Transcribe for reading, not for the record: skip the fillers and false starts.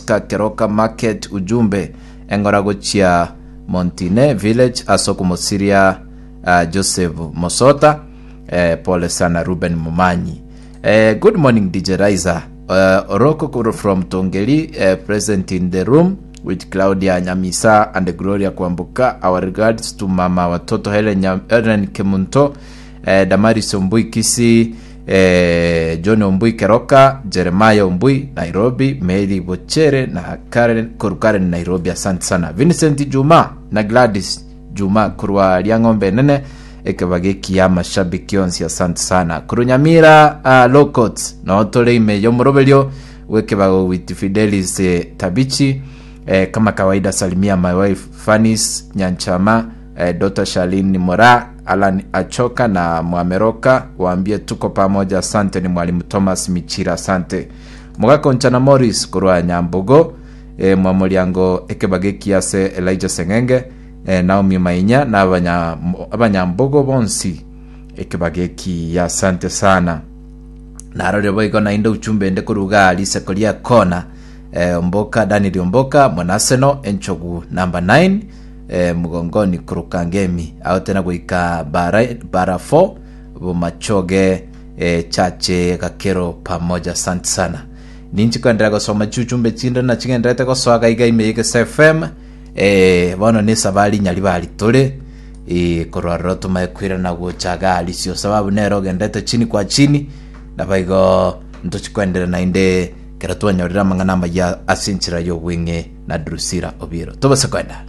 Oscar Keroka Market ujumbe eng'ora gochia Montine Village ase okomosiria ah, Joseph Mosota eh, pole sana Ruben Momanyi eh, good morning DJ Riser uh, Oroko kuru from Tongeri eh, present in the room with Claudia Nyamisa and Gloria Kwambuka our regards to mama watoto Helen, Nyam- Helen Kemunto eh, Damaris Ombui Kisii eh, John Ombui Keroka Jeremiah Ombui Nairobi Mary Bochere na Karen koru Karen Nairobi asante sana Vincent Juma na Gladys Juma korwa Riang'ombe enene ekebaga ekiya amashabiki onsi asante sana korwa Nyamira uh, Locots no tore ime yomoroberio bw'ekebago with Fidelis eh, Tabichi eh, kama kawaida salimia my wife Fanis Nyanchama eh, Dr. Charlene Mora Alan Achoka na Mwameroka waambie tuko pamoja asante ni mwalimu Thomas Michira asante Mugakonchana Morris korwa Nyambogo eh, Mwamoriango ekebago ekiya ase Elijah Seng'enge eh, Naomi Mainya na abanya, abanyambogo bonsi ekebago ekiya asante sana narorire boigo naende uchumbe ende korwa igaa riseko ria kona eh, Omboka Daniel Omboka Mwanaseno enchogu namba 9 eh, mgongoni koruka ngemi aotena goika bara, bara 4 bomachoge eh, chache gakero pamoja asante sana ninchi koenderea gosoma chiuchumbe chinde na chigenderete gosoa gaiga ime y'Egesa FM eh, bono ne esabari nyaribari tore eh, korwa aroro tomaye koirana gocha iga arisio sababu nere ogenderete chini kwa chini nabaigo ntochi koenderea naende kero twanyorire amang'ana amaya ase enchera y'obweng'e na Drusilla Obiero tobase koenda.